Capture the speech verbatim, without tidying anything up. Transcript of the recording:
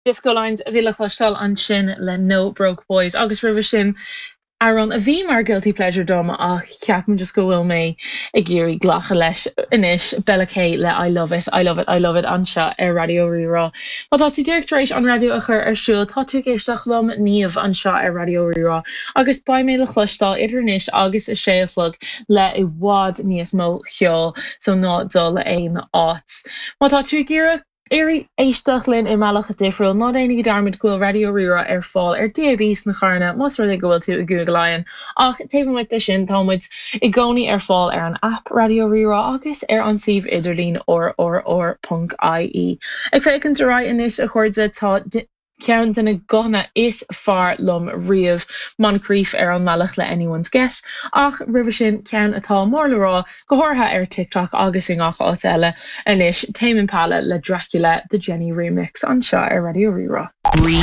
Disco Lines a bhí le cloisteáil ansin le No Broke Boys agus roimhe sin amhrán a bhí mar guilty pleasure dom ach ceapaim just go bhfuil mé ag iarraidh glacadh leis anois Bella K le I love it, I love it, I love it anseo ar Raidió Rí-Rá. Má tá tú díreach tar éis an raidió a chur ar siúl tá tú ag éisteacht liom Niamh anseo ar Raidió Rí-Rá agus beidh mé le cloisteáil idir anois agus a sé a chlog le i bhfad níos mó ceoil so ná dul aon áit. Má tá tú ag iarraidh iarraidh éisteacht linn i mbealach difriúil ná déanaigí dearmad go bhfuil Raidió Rí-Rá ar fáil ar DAB sna carranna más rud é go bhfuil tú i gCúige Laighean ach taobh amuigh de sin tá muid i gcónaí ar fáil ar an app Raidió Rí-Rá agus ar an suíomh idirlín rrr.ie. Ag féachaint ar aghaidh anois a chairde tá ceann de na guthanna is fearr liom riamh Moncrief ar an mbealach le anyone's guess ach roimhe sin ceann atá mór le rá go háirithe ar TikTok agus i ngach áit eile anois Tame Impala le Dracula the Jenny remix anseo ar Raidió Rí-Rá. Rí